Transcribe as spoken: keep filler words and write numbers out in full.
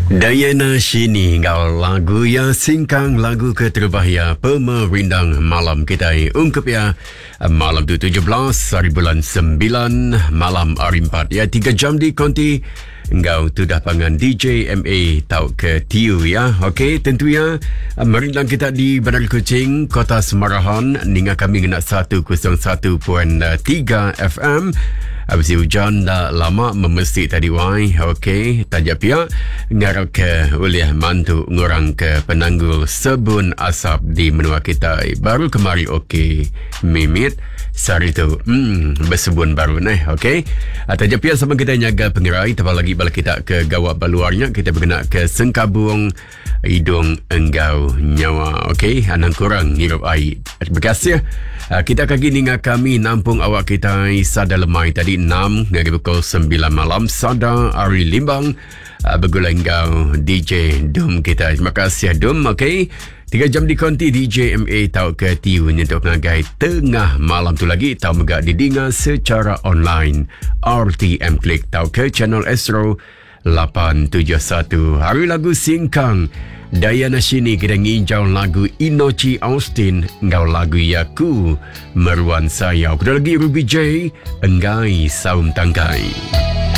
Diana Shini ngau lagu ya singkang, lagu keterubah ya pemerindang malam kita ungkup ya malam tu tujuh belas hari bulan sembilan malam hari empat ya, tiga jam di konti ngau tu dah pangan D J M A tau ke T U ya. Okey, tentunya merindang kita di Bandar Kuching, Kota Semarahan, ninga kami ngena seratus satu titik tiga F M. Habis hujan dah lama memesik tadi wai. Okey, tajak pihak ngarap ke boleh mantu ngurang ke penanggul sebun asap di menua kita. Baru kemari okey mimit sehari tu. Hmm, bersebun baru neh. Okey. Tajak pihak sama kita nyaga pengerai, tambah lagi bala kita ke gawak baluarnya kita berkena ke sengkabung hidung enggau nyawa. Okey, anang kurang ngirup air. Terima kasih. Kita kaki ninga kami nampung awak kita sada lemai tadi enam hingga pukul sembilan malam sada Ari Limbang bergulai enggau D J Dum kita. Terima kasih Dum. Okey, tiga jam di konti D J M A tau ke T U nyentuk ngagai tengah malam tu lagi tau mega didinga secara online R T M Klik tau ke channel Astro lapan tujuh satu. Hari lagu Singkang Diana Shini kita nginjau lagu Inochi Austin ngau lagu Yaku Meruan Sayau. Kuda lagi Ruby J Enggai Saum Tangkai.